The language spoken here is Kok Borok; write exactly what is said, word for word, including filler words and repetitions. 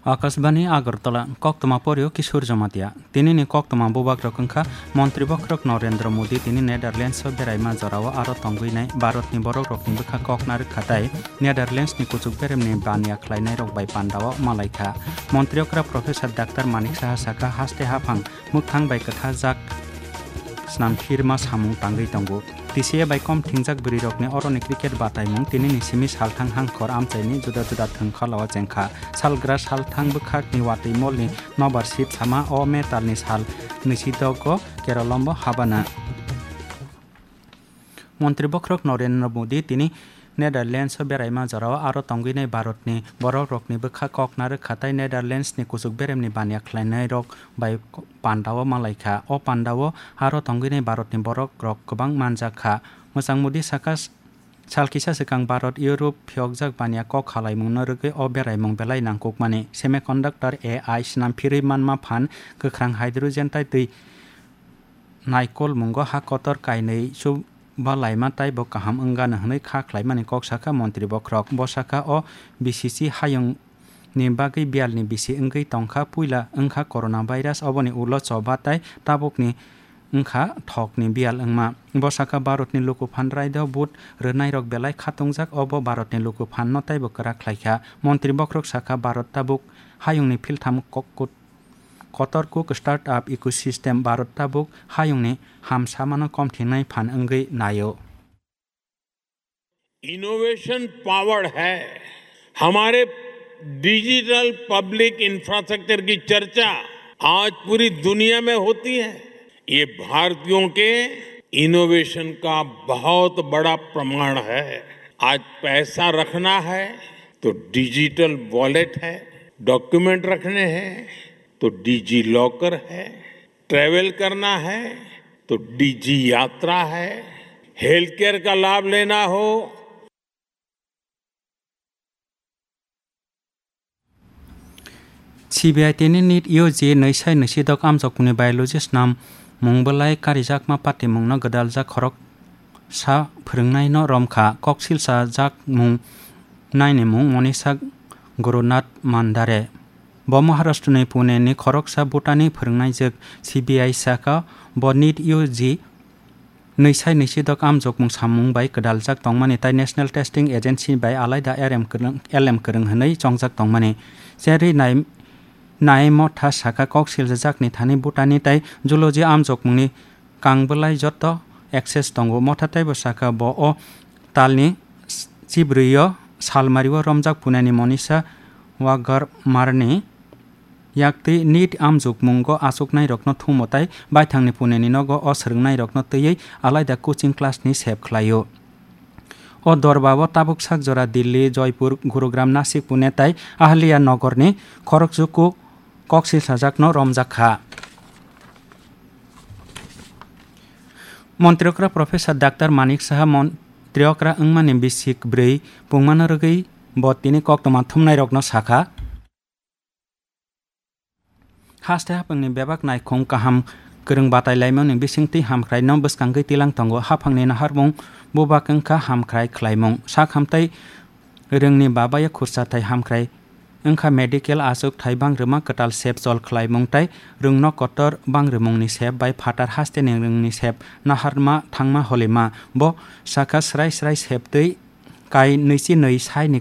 Akashbani Agartala, koktwma porio Kishore Jamatia. Tinini koktwma bubagrok wngkha Montri Bokhorok Narendra Modi tini Netherlands o beraima jorao aro tongwinai Bharatni borokrokni bwkha kok narwkha tei Netherlands ni kuchuk beremni baniya khlainairok bai pandao malaikha. Montri okra Professor Doctor Manik Saha sakha, haste haphang mwkhang bai kwthajak snamphirma samung tangwi tongo. T C A bai kom thingjak bwrwirokni oroni cricket bataimung tinini simi salthang hangkhor amchaini juda juda thwng khalao chengkha. Salgra salthang bwkhakni watwi molni nobar sip sama o metalni sal nwisidok o Keralombo habana. Montri Bokhorok Narendra Modi tini Netherlands o beraima jorao aro tongwinai Bharatni borokrokni bwkha kok narwkha tei Netherlands ni kuchuk beremni baniya khlainairok bai pandao malaikha. O pandao aro tongwinai Bharatni borokrok kwbang manjakha. Mwchang Modi sakha, sal kisa swkang Bharat Europe phiyokjak baniya kok khalaimungno rwgwi o beraimung belai nangkukmani. Semiconductor, A I, snamphirwi manma phan, kwkhrang hydrogen tei twi naikolmungo ha kotor kainwi chuba laima taibo kaham wngano hwnwi kha khlaimani kok sakha Montri Bokhorok. Bo sakha, o B C C hayungni bagwi biyalni bisi wngwi tongkha, puila wngkha coronavirus, oboni ulo choba tei tabukni wngkha thokni biyal wngma. Bo sakha, Bharatni lukuphan raida vote rwnairok belai khatungjak, obo Bharatni lukuphanno taibo kwrak khlaikha. Montri Bokhorok sakha, Bharat tabuk hayungni philtham kok-, kut-, kotor kuk startup ecosystem Bharat tabuk hayungni hamsamano komthinai phan wngwi naio. Innovation powered है। हमारे digital public infrastructure की चर्चा आज पूरी दुनिया में होती है। ये भारतीयों के इनोवेशन का बहुत बड़ा प्रमाण है। आज पैसा रखना है तो डिजिटल वॉलेट है, डॉक्यूमेंट रखने हैं तो डिजी लॉकर है, ट्रैवल करना है तो डिजी यात्रा है, हेल्थ केयर का लाभ लेना हो। C B I tini NEET U G nwi sai nwi sidok amjokmungni biology snamung belai karijakma patimungno gwdaljak khorok sa phwrwngnaino romkha. Kok silsa jakmung nainimung Monisa Gurunath Mandare. Bo Maharashtra ni Pune ni khoroksa Bhutan ni phwrwngnaijwk. C B I saka bo NEET U G nwi sai nwi sidok amjokmung samung bai gwdaljak tongmani tei National Testing Agency bai alaida R M kwrwng, L M kwrwng hwnwi chongjak tongmani. Cherwi nai, nai motha saka kok siljajakni thani Bhutan ni tei zoology amjokmungni kang bwlai joto access tongo. Motha teibo saka bo o talni chibrwi o salmari o romjak Pune ni Monisa Wagarmar ni yaktwi NEET amjokmungo achuknairokno thumo tei baithangni Pune ni nogo o swrwngnairokno twiwi alaida coaching class ni sep khlaio. O dorba o tabuk sak jora Delhi, Joypur, Gurugram, Nasik, Pune tei Ahilya Nagar ni khorokjuku kok silsajakno romjak kha. Montri okra Professor Doctor Manik Saha montri okra wngmani bisik bwrwi pungmano rwgwi bo tini koktwma thumnairokno sakha. Haste haphangni bebak naikhung kaham kwrwng batai laimani bisingtwi hamkraino bwskangwi tilang tongo. Haphangni naharmung bubak wngkha hamkrai khlaimung. Sak hamtai rwngni babayo khursa thai hamkrai wngkha medical achuk thai bangrwma kwtal sep chol khlaimung tei rwngno kotor bangrwmungni sep bai phatar hasteni rwngni sep naharma thangma holima. Bo sakha srai srai septwi kai nwichi nwi saini